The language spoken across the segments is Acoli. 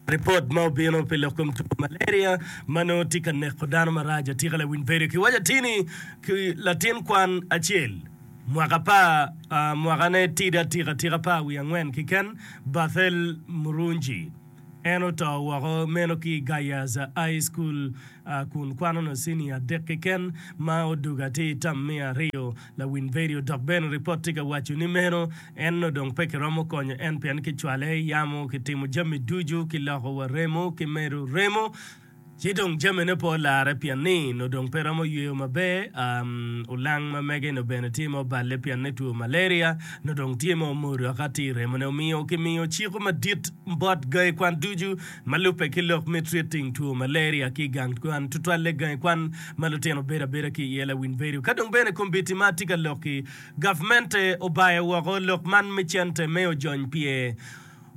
Ripot ma obino pi lok kom two malaria ma nongo tye ka neko dano marac atika lawiny bedo kiwaco atir ni ki latin kwan acel mwaka apar mwakane tidi atika atika apar wiye angwen keken Bathel Murungi en oto woko meno ki i Gayaza High School kun kwano nongo cinia adek keken ma odugo atir tam me aryo. Lawiny vedio dok bene ripot tye ka waco ni meno en nongo dong pe kiromo konyo en pien kicwale i yamo, kitimo jami ducu, kiloko wa remo, kimedo remo ci dong jamine pe olare pien ni nongo dong pe romo yweyo maber. Olang ma mege nongo bene tye ma oballe pien ni two malaria nongo dong tye ma omodo aka tye i remone. Omiyo kimiyo ciko madit bot gangi kwan ducu ma lubbe ki lok me treating two malaria ki i gang kwan, tutwalle gangi kwan ma lutino bedo abeda ki iye lawiny bedo. Ka dong bene kombeddi ma atye ka lok-ki, gavmente obayo woko lok man me cente me ojony pye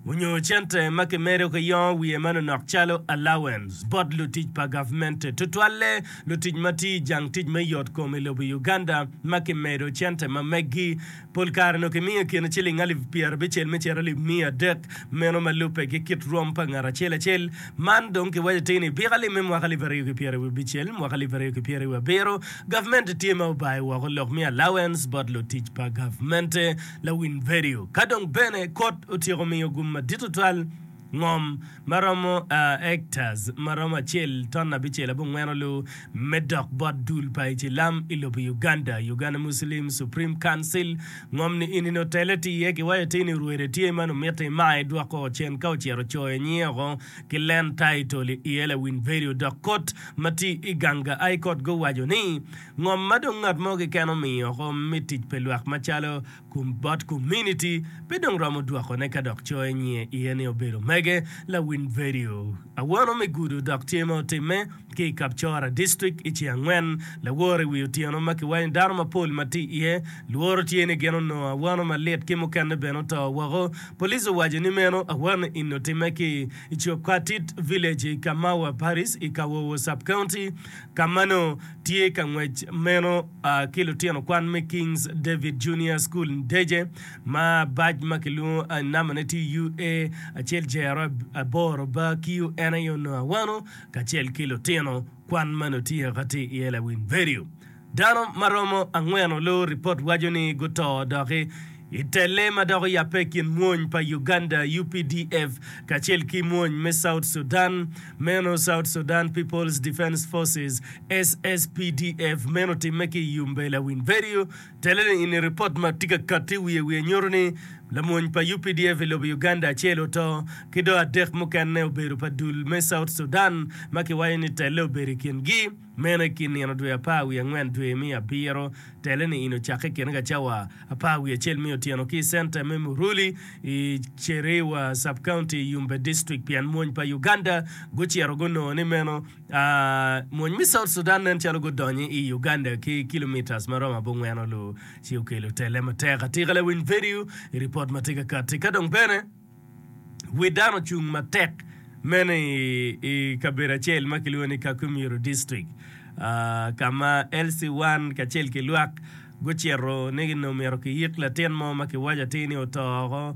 onyo cente ma kimedo ki yongo wiye manonok calo allowance bot lutic pa gavmente, tutwalle lutic ma tiyo i jang tic me yot kom i lobo Uganda ma kimedo cente ma meggi Pol kare nongo kimiyo i kine ciling alip pyerabicel me cito alip miya adek, meno ma lubbe ki kit rwom pa ngat acel acel. Man dong kiwaco atir ni byek alip me mwaka alip aryo ki pyerabicel, mwaka alip aryo ki pyerabiro, gavmente tye ma obayo woko lok me allowance bot lutic pa gavmente. Lawiny vedio. Ka dong bene kot otyeko miyo gum madit tutwal. Ngom ma romo hectares ma romo acel ton abicel abongwen olu me dok bot dul pa Icilam i lobo Uganda, Uganda Muslim Supreme Council. Ngom ni eni nongo tele tye iye kiwaco atir ni rwede tye ma nongo mitte imaye dwoko cen ka ocito coyo nyinge oko ki land title i iye lawiny vedio dok kot ma tye i ganga High Court guwaco ni ngom ma dong ngat mo keken omiyo oko me tic pi lwak macalo Bot kominiti pe dong romo dwokone ka dok coyo nyinge iye ni obedo mege. Lawiny vedio awano me gudo dok tye ma otimme ki i Kapchora District i ceng angwen laworo i wi otyeno ma kiwaco ni dano mapol ma tye iye lworo tye ni gin onongo awano malit ki mukene bene oto woko. Police owaco ni meno awano eni otimme ki i Chepkatit Village i Kamawa Parish i Kawowo Sub-County ka ma nongo tye ka ngwec meno ki lutino kwan me Kings David Junior School Ndeje ma bac ma kilwongo namane tye UA acel jero aboro ba kiyo en aye onongo awano kacel ki lutino kwan ma nongo tye ka tye iye lawiny vedio. Dano ma romo angwen olu ripot waco ni guto doki i telle ma dok oyabbe i kin mwony pa Uganda, UPDF, kacel ki mwony me South Sudan, meno South Sudan People's Defence Forces, SSPDF, meno otimme ki i Yumbe Lawiny Vedio. Telle-ni ini ripot ma tye ka katti wiye wiye nyuto ni lamwony pa UPDF i lobo Uganda acel oto ki dong adek mukene obedo pa dul me South Sudan ma kiwaco ni telle obedo i kingi. Meno i kin nino dwe apar wiye angwen dwe me abiro, tele ni in ocakke i kine ka cawa apar wiye acel me otyeno ki i centa me Muruli i Cherewa Sub-County i Yumbe District pien mwony pa Uganda gucito gunongo ni meno mwony me South Sudan nen calo gudonyo i Uganda ki kilometers ma romo abongwen olu ci okelo tele matek atika lawiny vedio i ripot ma tye ka kati ka dong bene Wi dano ocung matek meno i kabedo acel ma kilwongo ni Kakumiro District ka ma LC1 kacel ki lwak gucito ni onongo myero kiyik latin mo ma kiwaco atir ni oto woko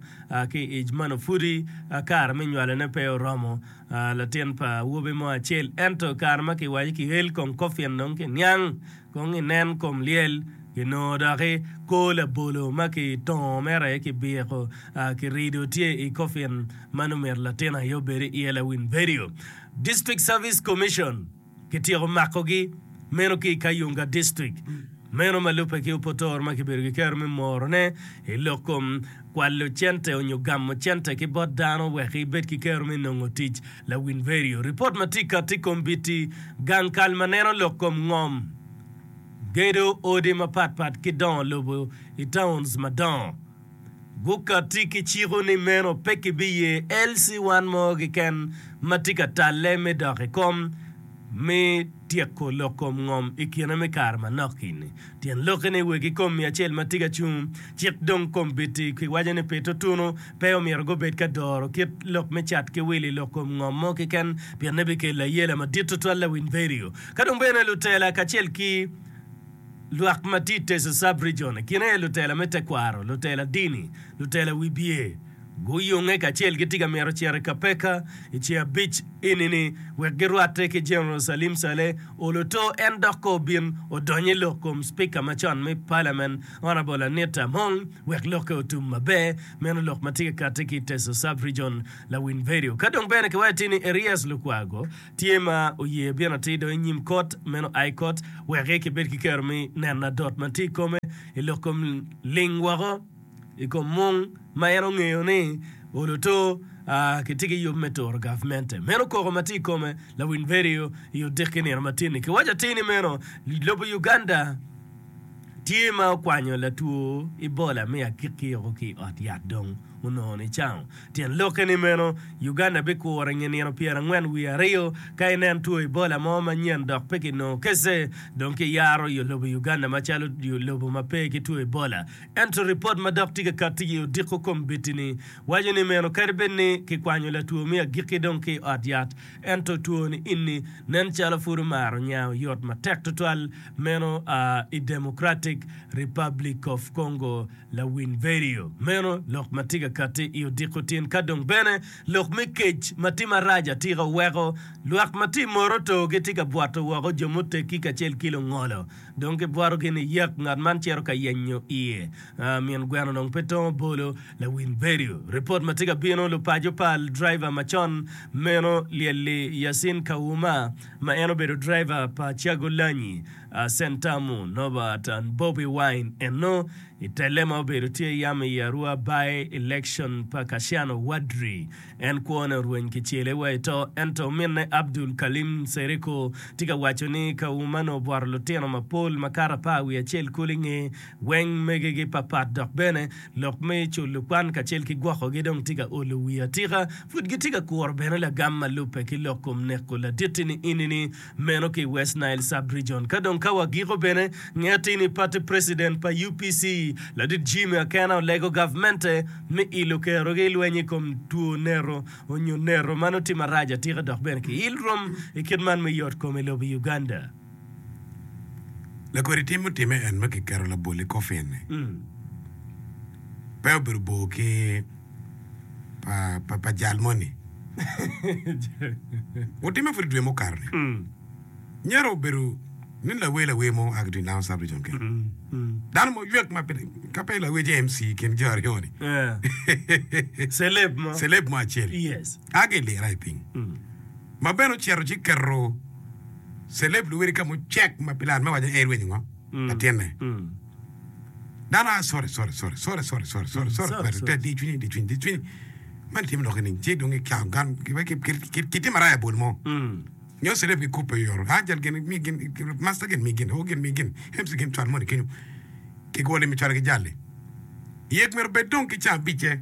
ki i ic ma nongo pudi kare me nywalone pe oromo latin pa awobi mo acel ento kare ma kiwaco ki el kong kofin dong kiniang Kong inen kom lyel, kinongo doki kor labolo ma kitongo mere aye kibiko kirido tye i kofin ma nongo myero latin aye obed iye lawiny vedio. District Service Commission kityeko makogi meno ki i Kayunga District meno ma lubbe ki opotoro ma kibedo ki kero me morone i lok kom kwalo cente onyo gamo cente ki bot dano wek ibed ki kero me nongo tic Lawiny vedio. Ripot ma tye kati i kom biti gang kal ma neno lok kom ngom, gedo odi mapat pat ki dongo lobo i towns madongo gukati ki ciko ni meno pe kibiye LC1 mo keken ma tye ka talle me dok i kom me tyeko lok kom ngom i kine me kare manok ini. Tyen lokke ni wegi kom miya acel ma tye ka cung cik dong kombeddi kiwaco ni pi tutunu pe omyero gubed ka doro kit lok me cat ki wil i lok kom ngom mo keken pienne bikelo ayela madit tutwal lawiny vedio. Ka dong bene lutela kacel ki lwak ma tye i Teso Sub-Region i kine aye lutela me tekwaro, lutela dini, lutela wibye. Guyunge kacel gitye ka mito cito i Kapeka i ceng abic eni-ni wek girwatte ki General Salim Saleh Oloto en dok ka obin odony i lok kom Spika macon me Parliament Honourable Anita Among wek lokke otum maber. Meno lok ma tye ka katti ki i Teso Sub-Region Lawiny Vedio. Ka dong bene kiwaco atir ni Erias Lukwago tye ma oye bino atir dong i nyim kot meno High Court wek kibed ki kero me neno adot ma tye i kome i lok kom ling woko. i kom mung ma en ongeyo ni oloto kitye ki yub me turo gavmente. Meno koko ma tye i kome lawiny vedio i odiki nino matin-ni. Kiwaco atir ni meno lobo Uganda tye ma okwanyo latwo Ebola me agikki woko ki i ot yat dong onongo nicango. Tyen lokke ni meno Uganda bikuro i nge nino pyerangwen wiye aryo ka inen two Ebola mo manyen dok pe kinongo kece dong kiyaro lobo Uganda macalo lobo ma pe ki two Ebola. Ento ripot ma dok tye ka katti i odiko kombeddi-ni waco ni meno kadi bed ni kikwanyo latwo me agikki dong ki i ot yat, ento two-ni ini nen calo pud omaro nya oyot matek tutwal meno a i Democratic Republic of Congo. Lawiny vedio meno lok ma tye ka katti i odiko tin ka dong bene lok me kec ma tye marac atika oweko lwak ma tye i moroto gitye ka bwoto woko jo muteggi kacel ki lungolo. Dong kibwotogi ni yek, ngat man cito ka yenyo iye. Min gweno dong pe tongo bolo. Lawiny vedio. Ripot ma tye ka bino, Lupaco pa driver macon meno lyelli Yasin Kawuma ma en obedo driver pa Kyagulanyi Sentamu Norbert and Bobi Wine eno i telle ma obedo tye yam i Arua by election pa Kassiano Wadri. En kwone orweny kicele wa i to, ento ominne Abdul Kalim Nsereko tye ka waco ni Kauma nongo obwoto lutino mapol makato apar wiye acel kulu i nge weng megegi papat dok bene lok me culo kwan kacel ki gwokogi dong tye ka olo wiye atika. Pud gitye ka kuro bene lagam ma lubbe ki lok kom neko ladit-ti ni meno ki i West Nile Sub-Region. Ka dong ka wagiko bene, ngeti ni party president pa UPC, ladit Jimmy Akena olego gavmente me ilo kerogi i lweny i kom two nero onyo nero ma nongo tye marac atika dok bene ki il rom i kit man me yot kom i lobo Uganda. Lakodi tim mutimme en ma kiketo labol i coffin-ni pe obedo bor ki pa jal moni. Otimme pud i dwe mukato-ni. Myero obedo ni lawer lawer mo oa ki i Lango Sub-Region kene. Dano mo ywek ma pe ka pe lawer ci MC i kin jo aryo-ni. Celeb mo. Celeb mo acel. Yes. A ki i lira i piny. Ma bene ocito ci keto celeb luwedi ka mucek ma pilat me waco ni en erwenyo ngo? Latinne. Dano a sorry sorry sorry sorry sorry sorry sorry sorry Sorry, kweri sorry. te di cwinyi di cwinyi di cwinyi man timo lok ni ci dong ikyao gan kitimo araya bol mo nyo celeb gikubbe oyoto a jal gin mi gin master gin mi gin o gin mi gin MC gin cwal moni kenyo kigwoli mi cwalo ki jali yek myero bed dong ki ca abicce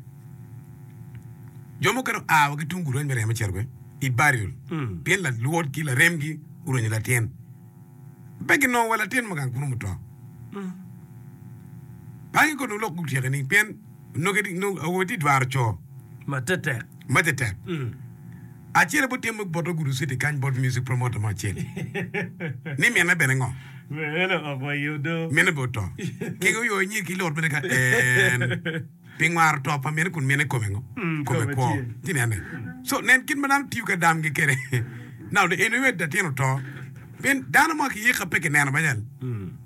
jo mukene oa wa ki tung gulu me remo cito be i burial pien lalwod ki laremgi orwenyo latin Pe ginongo wa latin ma gang kunu muto. Pangi kono lok gutyeke ni pien onongo awobe tye dwaro co Matetek. matetek. Acel bot tye bot Ogudu City kany bot music promoter mo acel ni mine bene ngo? Eno ok wa yudo. Mine bene oto. Ki oyo nyir ki lot bene ka en. Pi ngwaro to pa mine kun mine kome ngo? Kome kwo. Ci nene. So nen kit ma dano tiyo ka damgi kede. Now en iwet latin oto. Pien dano mo ki yika pe kineno banyal.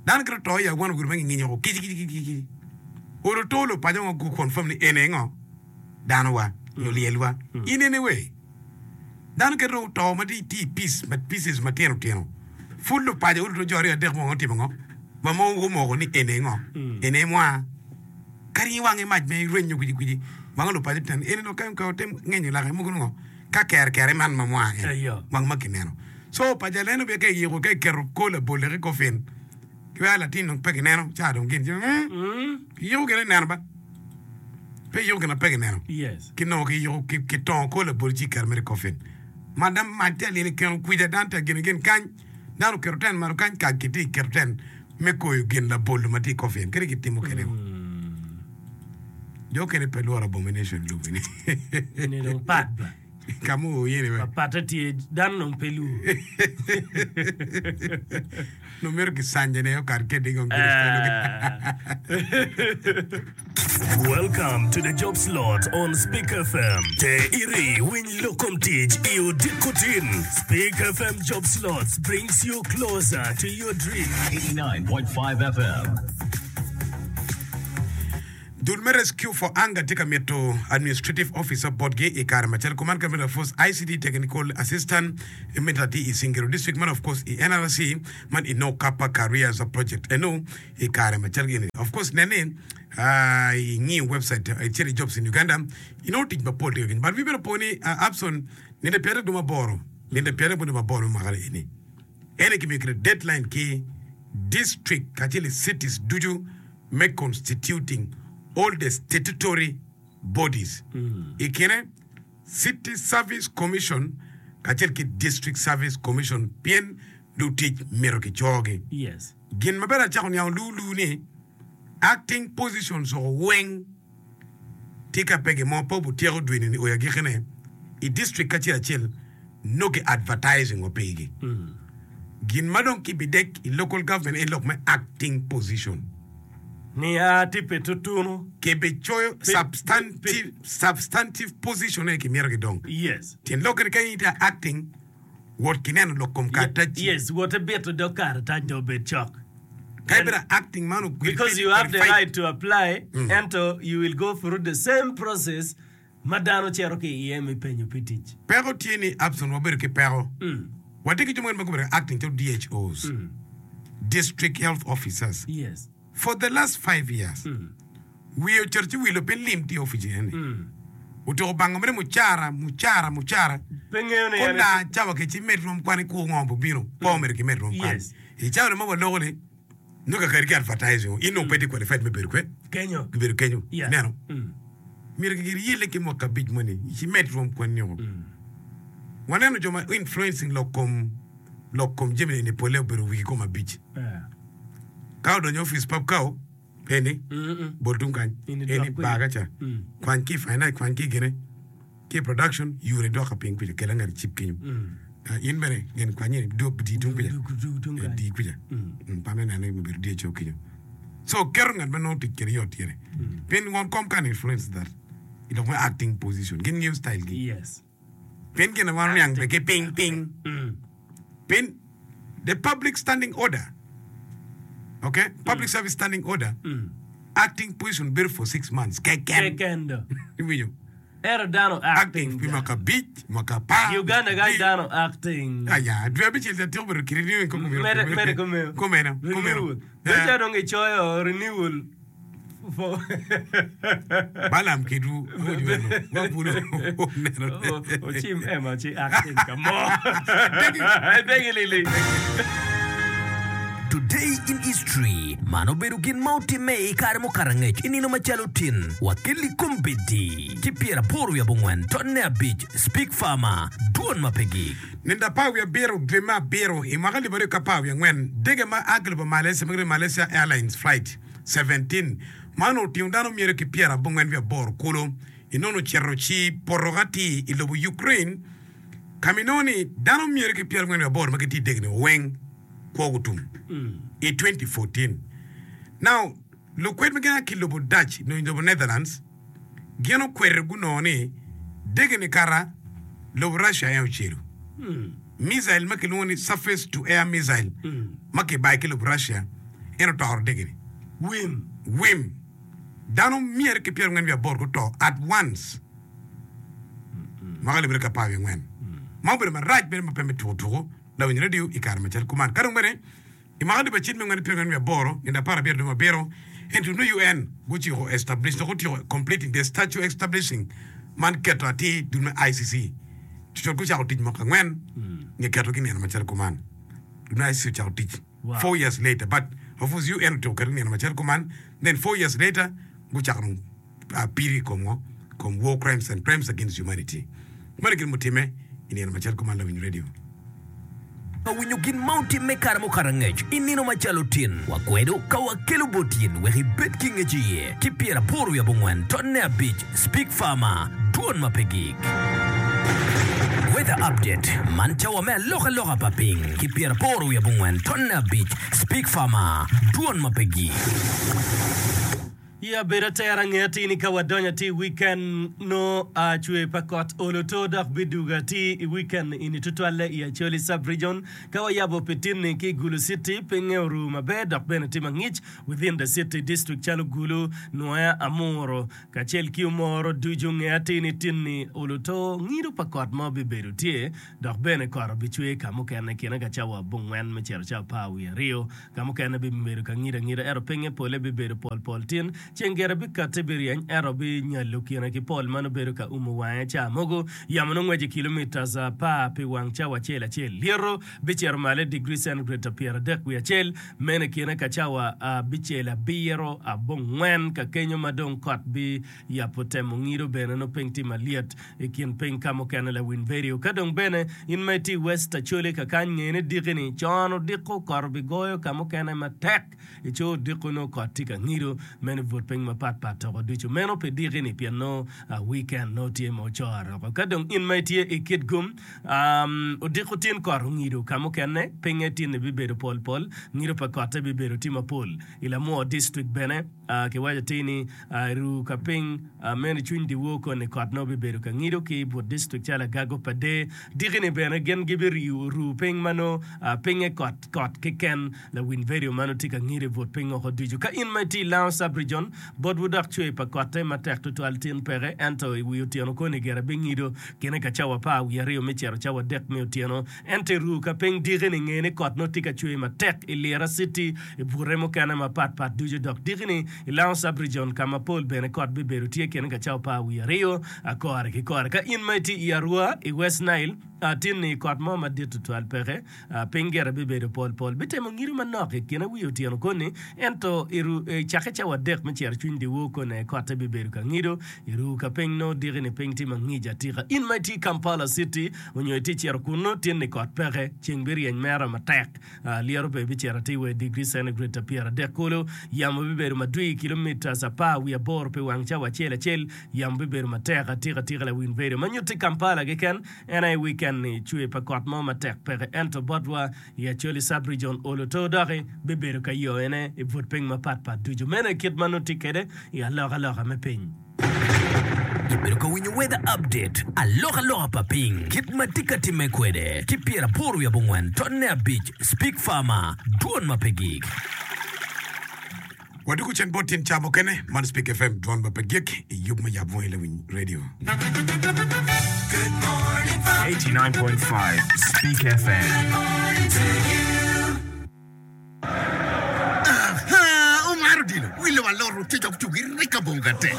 Dano kit oto i awano gudo ma ginginyo oko kici kici kici kici. Olo to lupaco ngo gu confirm ni ene ngo? Dano wa nyo lyel wa. In ene we. Dano kit oto ma tye i piece ma pieces matino tino. Pud lupaco olo to jo aryo adek mo ngo timo ngo? Ma mo gumoko ni ene ngo? Ene mwa. Kadi in wangi mac me rwenyo kwicikwici, wango lupaco tyen eni dong ka otim ngenyo lake mogo nongo ka kere kere man ma mwa en wang ma kineno. So pa jaleno bene ka iyiko ka iketo kor labol dok i kofin ki weko latin dong pe kineno ca dong gin ci iyiko gin ineno ba pe iyiko gin ma pe kineno kinongo kiyiko kitongo kor labol ci iketo mere i kofin ma dong mac tye alyel ikeno kwica dano tye agin gin kany Dano oketo ten malo kany ka kitye ka keto ten me koyo gin labolo ma tye i kofin kadi kitimo kede ngo. Jo okene pe lworo abomination i lobo ni. Eni dong pat ba. Ka ma oo iye ni we. Papatte tye, dano dong pe lwor. Nongo myero kicanje ne okat kede kong Welcome to the job slot on Speak FM. Te iri winy lok kom tic i odiko tin. Speak FM job slots brings you closer to your dream. 89.5 FM. Dul me Rescue for Hunger tye ka mito Administrative Officer botgi i kare macalo kuman ka mito of course ICT Technical Assistant mito atir i Singiro District man of course i NRC man i No Kappa Careers Project eno i kare macalo gini of course nen ni ingiyo website icito i Jobs in Uganda inongo tic mapol tye ka kenyo but wi bene opo ni Abson nino pyeraryo dwe maboro nino pyeraryo dwe maboro me mwaka eni ene kimiyo kite deadline ki district kacel i cities ducu me constituting all the statutory bodies i kine City Service Commission kacel ki District Service Commission pien lutic myero kicogi. Yes. Gin ma bene acako niango lulu ni acting positions oko weng tye ka pe gin mo pe obutyeko dwe ni oyo agikine i district acel acel nongo ki advertising wa pigi. Gin ma dong kibidek i local government en lok me acting position. Nia tye pi tutunu. Kibicoyo substantive, substantive position aye kimito ki dong. Yes. Tyen lokke ni ka in itye acting, wot ki neno lok kom karatac-ci. Yes, wot ibito dog karatac dong obed cok. Ka ibedo acting man ogwil Because you have the right to apply, ento you will go through the same process ma dano cito ki iye me penyo pi tic. Peko tye ni Abson wabedo ki peko. Watye ki jo mukene ma gubedo ka acting calo DHOs, District Health Officers, Yes. for the last five years. Wiye ocito ci wilo piny lim tye i opic eni. Otyeko bango mere mucara, mucara, mucara. Pe ngeyo ni en Konda cawa ke ci med rwom kwan ikur ngo bobino, pe omyero kimed rwom kwan. Yes. I cawa ni ma waloko ni Nongo kakari ki advertising in nongo pe itye qualified me bedo kwe Kenyo. bedo kenyo Yeah. ineno Mm. myero gigir yelle ki mwaka abic moni ci med rwom kwanni o waneno jo ma influencing lok kom lok kom jami eni pole obedo wigi kom abic Yeah. ka odonyo i office pap kao eni Mm-mm. bol tung kany In idok eni kwede. baga ca Mm. kwany ki i finance kwany ki i gine Ki i production yure dok piny kuca kela ngat icib kenyo in bene gin kwanye di tung kuca di kuca pa me nene obedo DHO kenyo so keto ngat ma nongo tic kwede yot ire pien won kom can influence that i lok me acting position gin ngeyo style gi pien gin ma wan oniang bene ki piny piny pien the public standing order okay public service standing order acting position bedo for 6 months keken iwinjo Ento dano Acting acting pi ga. mwaka abic, mwaka apar, I Uganda kany abic. dano acting. Aya, dwe abicel ca tyeko bedo kiti niweng kong omyero Mere mere kumeno. Kumeno, kumeno. Renewal. Bedo Eh. calo dong gicoyo renewal for Balaam kedwu awoco meno. Wabulu oneno. Ocim ema ci acting ka mo. Degi lili. Today in History, Man obedo gin ma otimme i kare mukato angec i nino macalo tin, wa kelli kombeddi ki pyeraboro wiye abongwen tonne abic Speak Farmer, Dwon ma pe gik. Nindo apar wiye abiro dwe me abiro i mwaka alip aryo ki apar wiye angwen, dege ma a ki lobo Malaysia ma kilwongo ni Malaysia Airlines Flight 17 ma onongo otingo dano myero ki pyerabongwen wiye aboro kulu inongo ocito ci poto atir i lobo Ukraine ka ma inongo ni dano myero ki pyerabongwen wiye aboro ma gitye i dege-ni weng kwo gutum i 2014. Now, lukwed ma gin a ki i lobo Dutch nyo lobo Netherlands gin okwedo gunongo ni dege-ni kara lobo Russia aye ocelo. Missile ma kilwongo ni surface to air missile ma kibayo ki lobo Russia en otoro dege-ni. Wim. Wim. Dano myero ki pyerangwen wiye aboro guto at once. Mwaka alip aryo ki apar wiye angwen. Ma obedo marac mere ma pe me tuko tuko. Lawiny redio i kare macalo kuman. Ka dong bene, i mwaka alip acel me angwen pyerangwen wiye aboro, nino aparabiro dwe me abiro, ento nongo UN guciko establish dok otyeko completing the statue establishing man keto atir dul me ICC. Cucut gucako tic mwaka angwen nge ketogi i nino macalo kuman. Dul me ICC ocako tic four years later but of course UN otyeko ketogi i nino macalo kuman then four years later gucako dong piri i kom ngo? Kom war crimes and crimes against humanity. Meno gin mutimme i nino macalo kuman lawiny radio. Ka winyo gin ma otimme i kare mukato angec i nino macalo tin, wakwedo ka wakelo bot in wek ibed ki ngec iye ki pyeraboro wiye abongwen tonne abic Speak Farmer, Dwon ma pe gik. Weather Update, Man cawa me alokaloka pa piny ki pyeraboro wiye abongwen tonne abic, Speak Farmer, Dwon ma pe gik. I abedo atera nge atir ni ka wadonyo atir i weekend nongo cwer pa kot olo to dok bidugo atir i weekend ini tutwalle i Acholi sub region. Ka wayabo pi tinni ki i Gulu city pinge oru maber dok bene tye mangic within the city district calo Gulu, Nwoya, Amuru kacel ki Omoro ducu nge atir ni tinni olo to ngido pa kot mo bibedo tye dok bene kot obicwer ka mukene kine ka cawa abongwen me cito cawa 12. Ka mukene bibedo ka ngido angida, ento pinye pole bibedo pol pol tin. Ceng gire bikatti biryeny, ento binyalo kine ki pol ma nongo bedo ka umo wange ca mogo. Yamo nongo ngweco i kilomitas apar pi wang cawa acel acel. Lyeto bicito malo i digri centigrade 31, meno i kine ka cawa abicel abiro abongwen ka kenyo ma dong kot biyabo temo ngido bene nongo piny tye malyet. I kin piny ka mukene lawiny vedio. Ka dong bene in ma itye i West Acholi kakany nge ni diki ni con odiko kot obigoyo ka mukene matek i coo odiko nongo kot tye ka ngido meno i but piny mapat pat toko ducu meno pi diki ni pien nongo weekend nongo tye ma ocore oko. Ka dong in ma itye i Kitgum odiko tin kot ongido ka mukene pinye tin ni bibedo pol pol ngido pa kotte bibedo tye mapol i Lamwo district bene. Kiwaco atir ni, I ruu ka piny meno i cwiny dyewor koni kot nongo bibedo ka ngido ki i but distrik calo Agago pa Dee. Diki-ni bene gin gibiriyo ruu piny ma nongo pinye kot kot keken. Lawiny vedio ma nongo tye ka ngido i but piny woko ducu. Ka in ma itye i Lango Sub-Region, botwu dok cwer pa kotte matek tutwal tin peke, ento i wi otyeno koni gire bingido kine ka cawa 12 me cito cawa adek me otyeno. Ento i ruu ka piny diki-ni, nge ni kot nongo tye ka cwer matek i Lira City, i bute mukene mapat pat ducu dok diki-ni i Lango Sub-Region ka ma pol bene kot bibedo tye kine ka cawa 12 kore ki kore. Ka in ma itye i Arua i West Nile, tin-ni kot mo madit tutwal peke. Piny gire bibedo pol pol, bitemo ngido manok i kine wi otyeno koni, ento i cakke cawa adek me cito cwiny dyewor koni aye kotte bibedo ka ngido. I ruu ka piny nongo diki-ni piny tye mangic atika. In ma itye i Kampala City onyo itye cito kunnu, tin-ni kot peke, ceng biryeny mere matek, lyeto bene bicito atir wa i digri centigrade 30 kulu. Yamo bibedo madwir kilomitas 18 pi wang cawa acel acel. Yamo bibedo matek atika atika lawiny bedo ma nyutti Kampala keken. En aye weekend-ni cwer pa kot mo matek peke ento botwa i Acholi Sub-Region olo to doki bibedo ka yoyone i but piny mapat pat ducu. Meno aye kit ma nongo tye kwede i alokaloka me piny. Ibedo ka winyo Weather Update, alokaloka pa piny, kit ma tye ka timme kwede, ki 84 tonne abic, Speak Farmer, dwon ma pe gik. Wadwogo cen bot tyen ca mukene. Man Speak FM, dwon ma pe gik i yub me yab wangi lawiny radio. 89.5 Speak FM. Aha! Omaro odilo, wi lobo alot otic ok tugi rik abongo gate.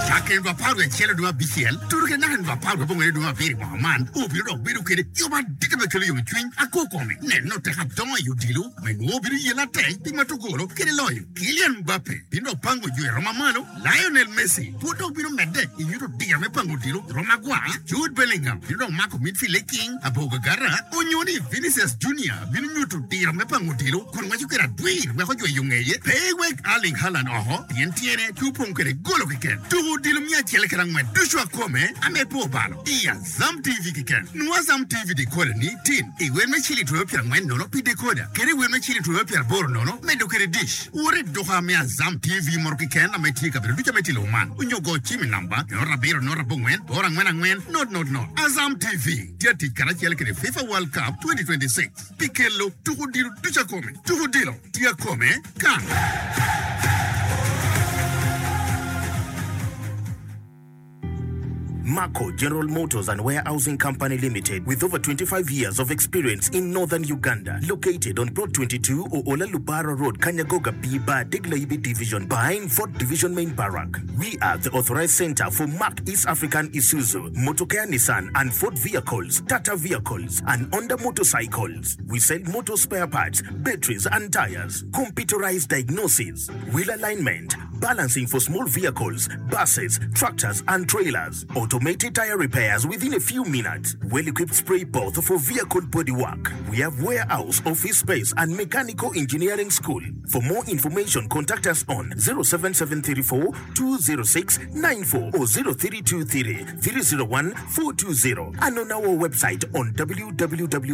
Cakke nino 11 dwe abicel tuto ki naka nino 19 dwe abiro i mwaka man, obino dok bedo kede yub madit ma kelo yomcwiny akor kome. Neno tek adongo i odilo. Ma nongo bino yelle atek pi mato golo kede loyo. Kylian Mbappe bino dok pango jo i rom mamalo, Lionel Messi pud dok bino medde i nyuto diro me pango odilo i rom magwar, Jude Bellingham bino dok mako midfield i king abor gagara, onyo ni Vinicius Junior bino nyuto diro me pango odilo kun ngweco kwede adwir weko jweyo ngeye. Pe iwek Erling Haaland oko pien tyene tye opong kwede golo keken. Tuko odilo 104 ducu akome ame pe obalo i Azam TV keken. Nwo Azam TV decoder ni tin i wer me ciling twero 40 nono pi decoder kede i wer me ciling twero 80 nono medo kede dish. Wot i duka me Azam TV moto keken ame tye i kabedo ducu ame tye i lobo man onyo go cim i namba 0 7 0 8 4 4 0 0 0. Azam TV tye atic karacel kede FIFA World Cup 2026 pi kelo tuko odilo ducu akome. Tuko odilo tye akome kan. Marco General Motors and Warehousing Company Limited with over 25 years of experience in Northern Uganda located on Plot 22 Oola Lubara Road Kanyagoga B Bar Degla-Ibi Division behind Fort Division Main Barrack. We are the authorized center for Mark East African Isuzu, Motokea Nissan and Ford vehicles, Tata vehicles and Honda motorcycles. We sell motor spare parts, batteries and tires, computerized diagnosis, wheel alignment, Balancing for small vehicles, buses, tractors and trailers. Automated tire repairs within a few minutes. Well-equipped spray booth for vehicle body work. We have warehouse, office space and mechanical engineering school. For more information contact us on 07734 206 94 or 0323 301 420 and on our website on www.maco.ug.